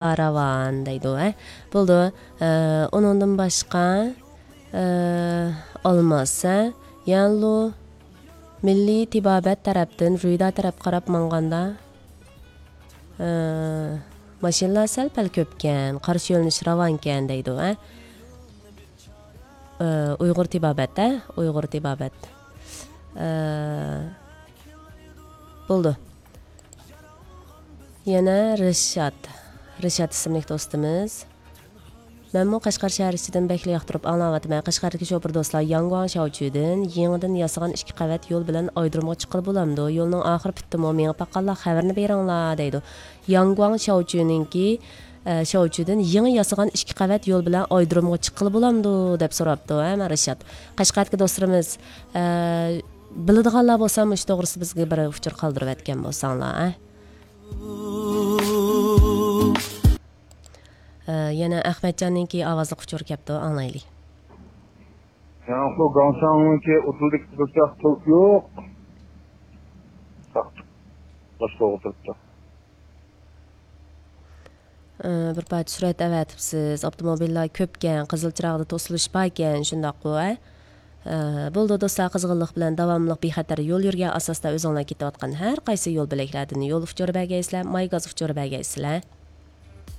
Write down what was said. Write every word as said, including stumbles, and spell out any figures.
راۋان دەيدۇ، ھە. بولدى. ئە، ئۇنىڭدىن باشقا، ئە، ئالماس، ھە. يەنلۇ مىللىي تېبابەت تەرەپتىن رۇيدا تەرەپ قاراپ ماڭغاندا، ئە، ماشىنىلار سەل-پەل كۆپكەن، قارشى يۆنىلىش راۋانكەن دەيدۇ، ھە. ئە، ئۇيغۇر تېبابەت، ھە، ئۇيغۇر تېبابەت. ئە، بولدى. يەنە رىشات. رىشات ئىسىملىك دوستىمىز. مەنمۇ قەشقەر شەھەر ئىچىدىن بەكلا ياقتۇرۇپ ئاڭلاۋاتىمەن. قەشقەردىكى شوپۇر دوستلار، ياڭگۇاڭ شياۋچۈدىن يېڭىدىن ياسىغان ئىككى قەۋەت يول بىلەن ئايرودرومغا چىققىلى بولامدۇ؟ يولنىڭ ئاخىرى پۈتتىمۇ؟ مېڭىپ باققانلار خەۋىرىنى بېرىڭلار دەيدۇ. ياڭگۇاڭ شياۋچۈنىڭكى، ئە، شياۋچۈدىن يېڭى ياسىغان ئىككى قەۋەت يول بىلەن ئايرودرومغا چىققىلى بولامدۇ دەپ سوراپتۇ، ھە، مانا رىشات. قەشقەردىكى دوستلىرىمىز، ئە، بىلىدىغانلار بولسا مۇشۇ توغرىسىدا بىزگە بىر ئۇچۇر قالدۇرۇۋەتكەن بولساڭلار، ھە. ئە، يەنە ئەخمەتجاننىڭكى ئاۋازلىق ئۇچۇرى كەپتۇ، ئاڭلايلى. ياڭخۇ گاڭشاڭنىڭكى ئوتتۇزدىكى بىر چاق توك يوق. باشقا ئولتۇرۇپتۇ. ئە، بىر پارچە سۈرەت ئەۋەتىپسىز. ئاپتوموبىللار كۆپكەن، قىزىل چىراغدا توسۇلۇش باركەن، شۇنداققۇ، ھە؟ ئە، بولدى دوستلار، قىزغىنلىق بىلەن داۋاملىق بىخەتەر يول يۈرگەن ئاساستا ئۆزۈڭلار كېتىۋاتقان ھەر قايسى يول بۆلەكلەردىن يول ئۇچۇرى بەرگەيسىلەر، ماي گاز ئۇچۇرى بەرگەيسىلەر.